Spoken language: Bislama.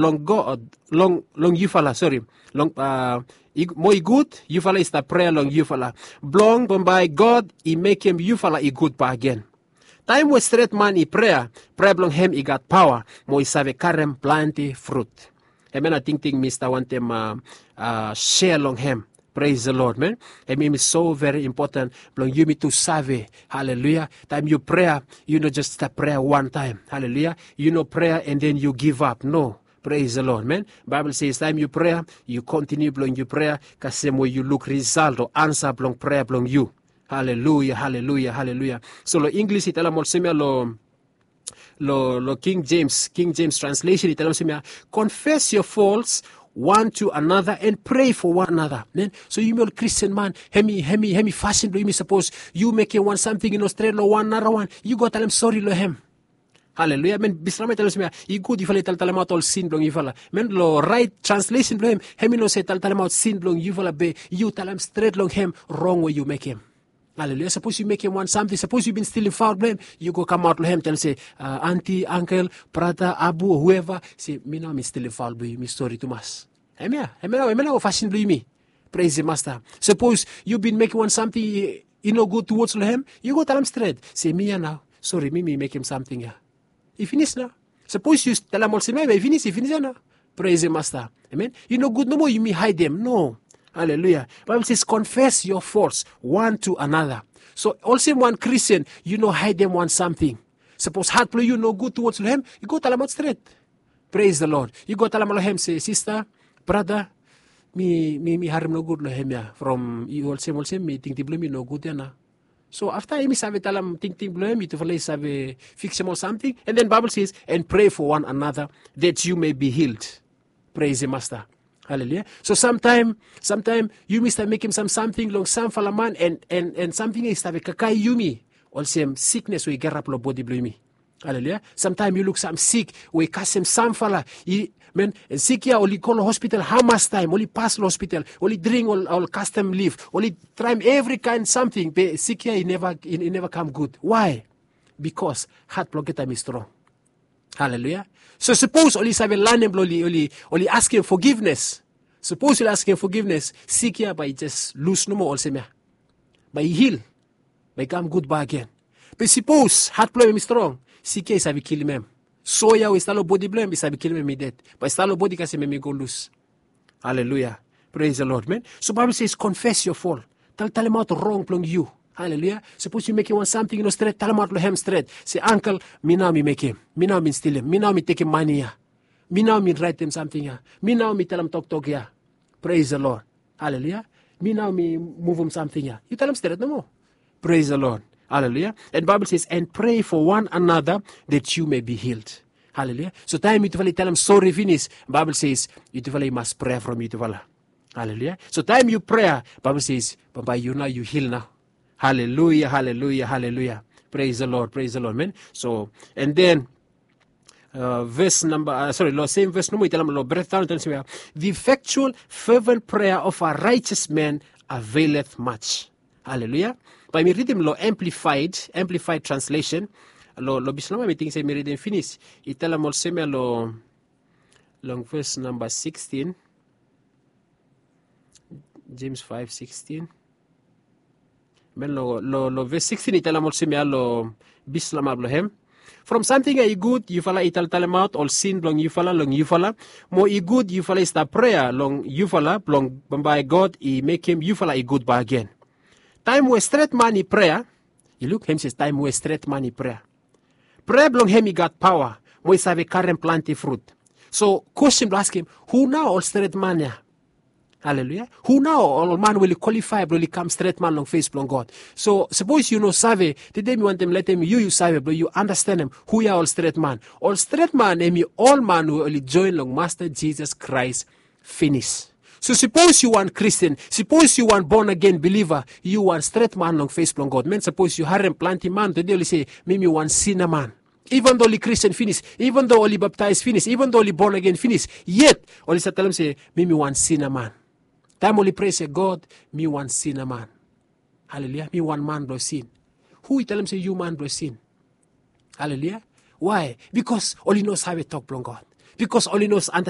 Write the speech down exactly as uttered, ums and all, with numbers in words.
long god long long yufala, sori, long mo i gud yufala i stap prea long yufala blong bambae god i mekem yufala i gud bagen. Taem we stret man i prea, prea blong hem i gat paoa mo i save karem plante frut. Hem ya na tingting mi stap wantem sea long hem. Pres de lod man. Hem yumi so veri impoten blong yumi tu save. Haleluya. Taem yu prea, yu no jes stap prea wantaem. Haleluya. Yu no prea en den yu givap no. Pres de lod man. Baebol ses taem yu prea, yu kontiniu blong yu prea kasem we yu luk risalt o ansa blong prea blong yu. Haleluya, haleluya, haleluya. So long inglis i talem olsem ya long long long king jems king jems translesen i talem olsem ya, confess your faults one to another and pray for one another man. So yumi ol kristian man, hemi hemi hemi fasin blong yumi sapos yu mekem wan samting i no stret long wan narawan, yu go talem sori long hem. Haleluya man. Bislama i talem olsem ya, i gud yufala i taltalemaot ol sin blong yufala man. Long rait translesen blong hem, hemi no se taltalemaot sin blong yufala be yu talem stret long hem rong we yu mekem. Haleluya. Sapos yu mekem wan samting, sapos yu bin stilim faul blong hem, yu go kamaot long hem talem se, anti, angkel, brata, abu o hueva, se mi nao mi stilim faul blong yu, mi sori tumas. Hemia hemia nao fasin blong yumi. Pres de masta. Sapos yu bin mekem wan samting i no gud tuwots long hem, yu go talem stret se mi ya nao, sori mi mi mekem samting ya. I finis nao. Sapos yu talem olsem ya be i finis i finis ya nao. Pres de masta. Amen. I no gud nomo yumi haedem no. Haleluya. Baibol ses confess your faults one to another. So olsem wan kristian, yu no haedem wan samting. Sapos hat blong yu no gud tuwots long hem, yu go talemaot stret. Pres de lod. Yu go talemaot long hem se sista, brata, mi mi mi harem nogud long hem ya from yu olsem olsem mi tingting blong mi no gud ya nao. So afta yumi save talem tingting blong hem, yutufala i save fiksem ol samting. And then baibol ses, and pray for one another that you may be healed. Pres de masta. Haleluya. So samtaem samtaem yumi stap mekem sam samting long samfala man, and samting ya i stave kakae yumi olsem siknes we i garap long bodi blong yumi. Haleluya. Samtaem yu luk sam sik we i kasem samfala. Men, sik ya oli go long hospital hamas taem, oli pas long hospital, oli dring ol kastem lif, oli traem evri kaen samting be sik ya i neva kam gud. Wae? Bikos hat blong olgeta mi strong. Haleluya. So sapos oli save lanem blong oli askem fogivnes, sapos oli askem fogivnes, sik ya bae i jes lus nomo olsem ya. Bae i hil. Bae i kam gud bagen. Be sapos hat blong hem i strong, sik ya i save kilim hem. So ya we i stap long bodi blong hem i save kilim hem i ded. Bae i stap long bodi kasem hem i go lus. Haleluya. Pres de lod men. So baibol ses konfes yo fol. Taltalemaot rong blong yu. Haleluya. Sapos yu mekem wan samting i no stret, talemaot long hem stret se, angkel, mi nao mi mekem, mi nao mi stilim, mi nao mi tekem mane ya, mi nao mi raetem samting ya, mi nao mi talem toktok ya. Pres de lod. Haleluya. Mi nao mi muvum samting ya. Yu talem stret nomo. Pres de lod. Haleluya. And baibol ses and pray for one another that you may be healed. Haleluya. So taem yutufala i talem sori finis, baibol ses yutufala i mas prea from yutufala. Haleluya. So taem yu prea, baibol ses bambae yu nao yu hil nao. Haleluya, haleluya, haleluya. Pres de lod, pres de lod men. So and then ves namba sori long sem ves nomo i talem long bretdaon i talem olsem ya, the effectual fervent prayer of a righteous man availeth much. Haleluya. Bae mi ridim long amplified amplified translation. Long bislama mi ting se mi ridim finis. I talem olsem ya long long ves namba sixteen. Jems five sixteen. Men long ves sixteen i talem olsem ya long bislama blong hem, from samting ya i gud yufala i taltalemaot ol sin blong yufala long yufala, mo i gud yufala i stap prea long yufala blong bambae god i mekem yufala i gud bagen. Taem we stret man i prea, i luk hem se taem we stret man i prea, prea blong hem i gat paoa mo i save karem plante frut. So kwesten blong askem, hu nao ol stret man ya? Haleluya. Hu nao ol man we oli kwalifae blong oli kam stret man long fes blong god? So sapos yu no save, tede mi wantem letem yu yu save blong yu anastenem hu ya ol stret man. Ol stret man hem i ol man we oli joen long masta jisas kraes finis. So sapos yu wan kristian, sapos yu wan bon agen biliva, yu wan stret man long fes blong god men. Sapos yu harem plante man tede oli se, mi mi wan sina man. Iven do oli kristian finis, iven do oli baptaes finis, iven do oli bon agen finis, yet oli save talem se mi mi wan sina man. Taem oli prea se god, mi wan sina man. Haleluya. Mi wan man blong sin. Hu i talem se yu man blong sin? Haleluya. Wae? Bikos oli no save tok blong god. bikos oli no save